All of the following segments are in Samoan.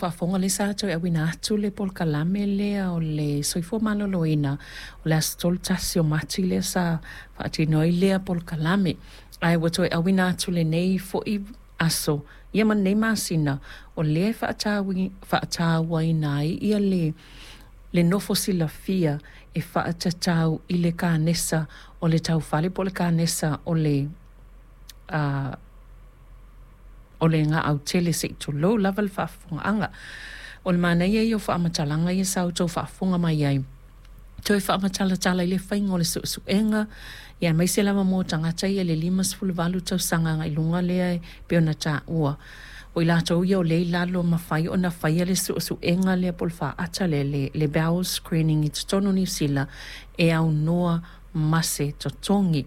faafofoga, lea sa toe auina atu le polokalame lea o le soifua maloloina o le aso 31 o Mati lea sa faatino ai lea polokalame. Ae ua toe auina atu lenei foi aso ia ma lenei masina o lea e faatauaina ai ia le nofo silafia e faatatau i le kanesa o le taufale po o le kanesa o le o le gaau tele se i tulou lava le faafofogaaga. O le manaia ia o faamatalaga ia sa outou faafofoga mai ai, toe faamatalatala i le faiga o le suesuega ia aemaise lava mo tagata ia i le 58 tausaga agai i luga lea e pei ona taua. O i latou ia o lea e i lalo e mafai ona faia le suesuega lea po o le faata lea, le bowel screening i totonu o Niu Sila e aunoa ma se totogi.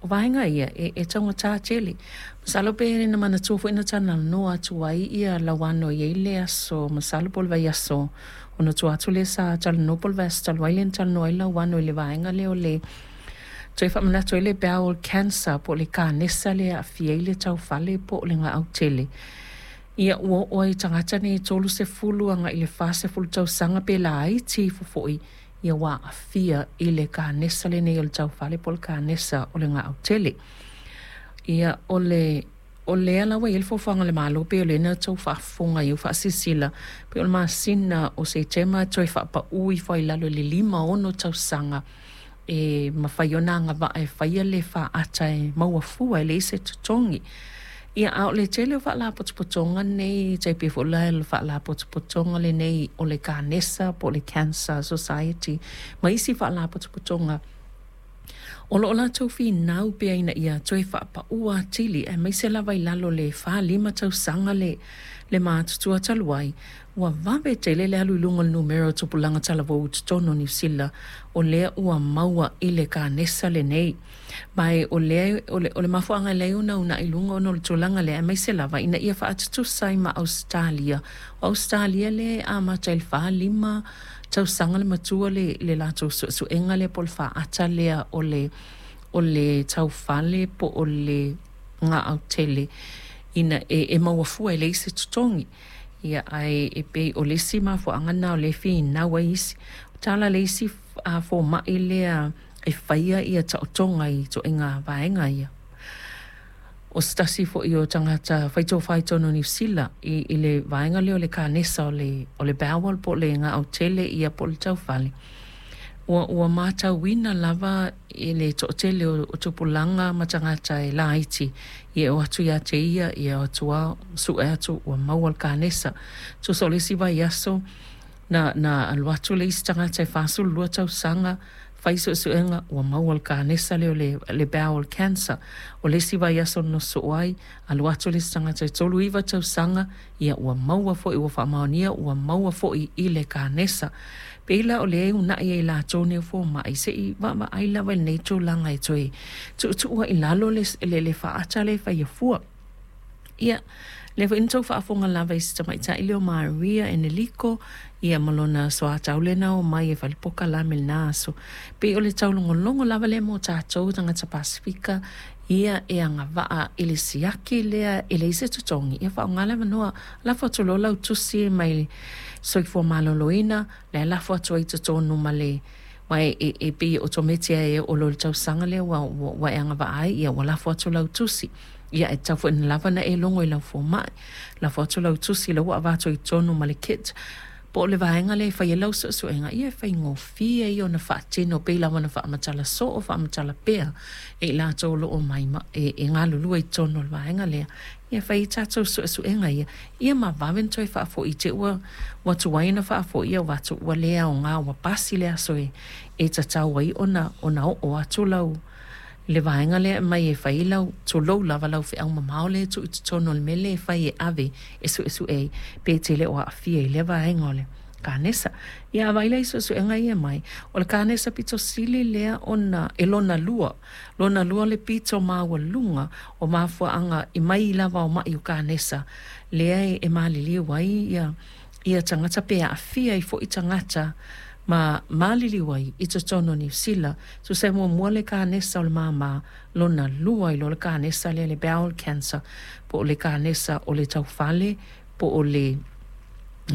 O vaega ia e taugata tele. Masalo pe na manatua foi na talanoa atu ai Lauano e i ai le aso, masalo po o le vaiaso ona tua atu lea sa talanoa po o le vaiaso talu ai lea na talanoa ai Lauano i le vaega lea o le toe faamanatu ai le bowel cancer po o le kanesa lea e aafia ai le taufale po o le gaau tele. Ia ua oo lava i tagata nei e 30 agai i le 40 tausaga pe laiti ifo foi ia ua aafia i le kanesa lenei o le taufale po o le kanesa o le gaau tele. Ia o le o lea la ua i ai le fuafuaga a le Malo pei o lea na outou faafofoga i ai ua faasilasila pei o le masina o Setema e toe faapau ifo ai i lalo i le 56 tausaga e mafai ona agavaa e faia le faata e maua fua e leai se totogi. Ia, a o le tele o faalapotopotoga nei, e tai pei foi la le faalapotopotoga lenei o le Kanesa po o le Cancer Society ma isi faalapotopotoga, o lo o latou finau pea ina ia toe faapau atili, aemaise lava i lalo o le 45 tausaga le matutua talu ai, ua vave tele le alu i luga o le numera o tupulaga talavou i totonu o Niu Sila o lea ua maua i le kanesa lenei. Ma o lea o le mafuaaga e ala ai ona uunai i luga ona o le tulaga lea, aemaise lava ina ia faatutusa ai ma Ausetalia. O Ausetalia lea e amata i le 45 tausaga le matua le latou suesuega lea po o le faata lea o le o le taufale po o le gaau tele ina e maua fua e leai se totogi. Ia, ae e pei o le isi mafuaaga lena o lea e finau ai isi. O tala a le isi fomai lea e faia ia taotoga i ituaiga vaega ia. O se tasi foi o tagata faitofa i totonu o Niu Sila i le vaega lea o le kanesa o le bowel po o le gaau tele ia po o le taufale, ua matauina lava i le toatele o tupulaga ma tagata e laiti ia e o atu ia te ia, ia o atu lava sue atu ua maua le kanesa. Tusa o le isi vaiaso na alu atu le isi tagata e 42 tausaga fai suesuega ua maua le kanesa lea o le bowel cancer. O le isi vaiaso na sosoo ai, alu atu le isi tagata e 39 tausaga, ia ua maua foi, ua faamaonia ua maua foi i le kanesa. Pei la o lea e uunai ai e latou nei o fomai, se i vaavaai lava i lenei tulaga e toe tuutuu ai i lalo le faata lea e faia fua. Ia, lea foi na outou faafofoga lava i si tamaitai lea o Maria Eneliko, ia ma lona soatau lea na omai e fai le polokalame i lena aso. Pei o le taulogologo lava lea mo tatou tagata Pasefika, ia e agavaa i le siaki lea e leai se totogi, ia faaaoga le avanoa. Lafo atu loa lau tusi mai le Soifua Maloloina, la e lafo atu ai i totonu ma le aua e pei e otometi lava e oo loa i le tausaga lea ua e agavaa ai, ia ua lafo atu lau tusi. Ia e tatau foi ona lava ona e logo i lau fomai. Lafo atu lau tusi la ua avatu i totonu ma le kit po o le vaega lea e fai ai lau suesuega, ia e faigofie ia ona faatino pei lava ona faamatala soo, faamatala pea e i latou o lo o omai ma e galulue i totonu o le vaega lea. Ia fai ai tatou suesuega ia, ia ma vave ona toe faafoi i te i ua tuai ona faafoi, ia ua vaai atu ua le aoga ua pasi le aso e tatau ai ona oo atu lau le vaega lea e aumai e fai ai lau, tulou lava, lau feau mamao lea e tuu i totonu o le mea lea e fai e ave e suesue ai pe e te le o aafia i lea vaega o le kanesa. Ia a vaai la i suesuega ia e aumai, o le kanesa pito sili lea ona e lona lua, lona lua le pito maualuga o mafuaaga i mai lava o mai o kanesa lea e maliliu ai ia tagata pe aafia ai foi tagata ma maliliu ai i totonu o Niu Sila. Tusa e muamua le kanesa o le māmā, lona lua ai loa le kanesa lea le bowel cancer po o le kanesa o le taufale po o le